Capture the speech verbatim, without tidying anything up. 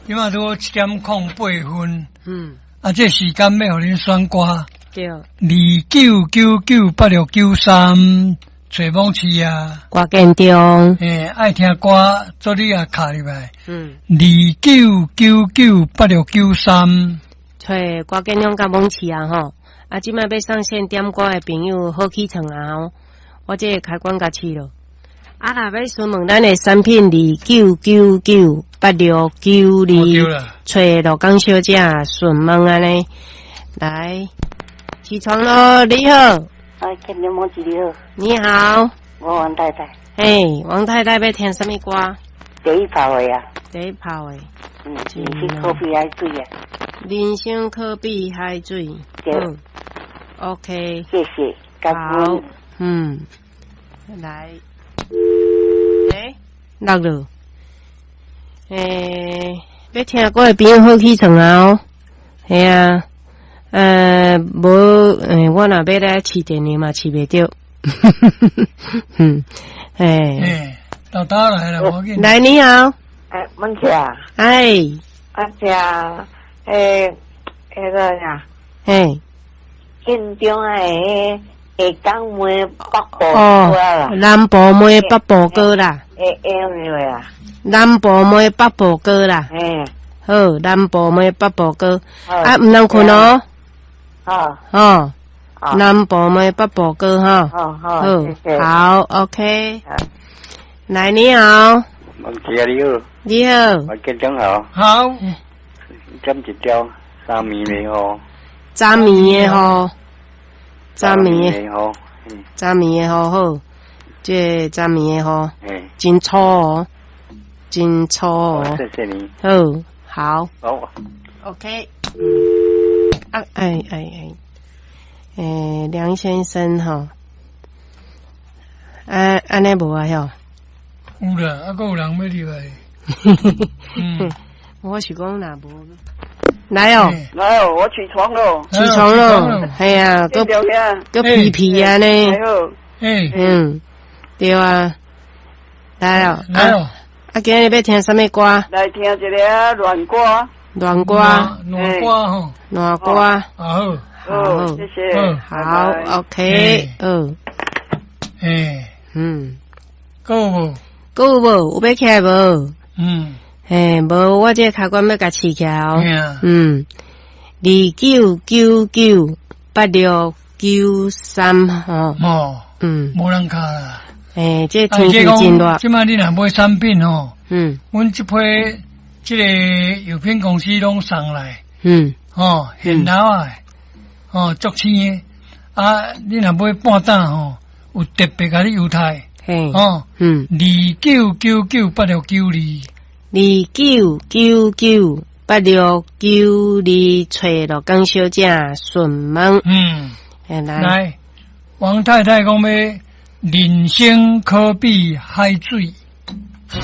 這馬拄好七點空八分。嗯。啊，這時間欲予恁選歌。對。二九九九八六九三，揣網市啊。歌建中。欸，愛聽歌，做你也敲入來。嗯。二九九九八六九三，揣歌建中佮網市啊吼。啊，這擺欲上線點歌的朋友好起床啊吼！我這個開關共試囉。啊，若欲詢問咱的產品，二九九九八六九二，揣羅江小姐詢問按呢。來，起床囉，你好。哎，建中網市你好。你好。我王太太。嘿，王太太欲聽啥物歌？第一炮的啊。第一炮的。嗯，人生可比海水啊。人生可比海水。對。 OK。謝謝。好。嗯。來。欸，落了。欸，欲聽歌的朋友好起床啊！哦，嘿啊，呃，無，欸，我若欲來試電話嘛，試袂著。嗯，欸。欸，豆豆來了，無要緊。來，你好。欸，文姐啊。哎。啊，這，欸，彼個啥？嘿。建中的下港梅北部歌啦。南部梅北部歌啦。會會用啊？南部梅北部歌啦。嗯。好，南部梅北部歌。啊，毋通睏哦。好。哦。南部梅北部歌哈。好好。好，OK。來，你好。文姐你好。你好。我建中好。好。點一條三暝的雨。昨暝的雨，昨暝的雨，昨暝的雨好，這個昨暝的雨，真粗哦，真粗哦。謝謝你。好，好。好。 OK。啊，哎哎哎，欸，梁先生吼，啊，按呢無啊喲？有啦，啊，閣有人欲入來。嗯，我是講若無。來哦，來哦，我起床囉，起床囉，嘿啊，閣閣皮皮啊呢，嗯，對啊，來哦，來哦，啊，今日欲聽啥物歌？來聽一个戀歌，戀歌，戀歌吼，戀歌，好，好，謝謝，好，OK，嗯，欸，嗯，閣有無？閣有無？有欲起來無？嗯。嘿，無，我這個開關欲共試起來哦。嗯，二九九九八六九三吼。哦，嗯，無人敲啦。欸，這天氣真熱。這擺你若買產品吼，嗯，阮這批這個藥品公司攏送來，嗯，吼，現老的，吼，足鮮的。啊，你若買半擔吼，有特別共你優待。嘿，哦，嗯，二九九九八六九二。二九九九八六九二，揣羅江小姐詢問。嗯，來，來，王太太講欲人生可比海水。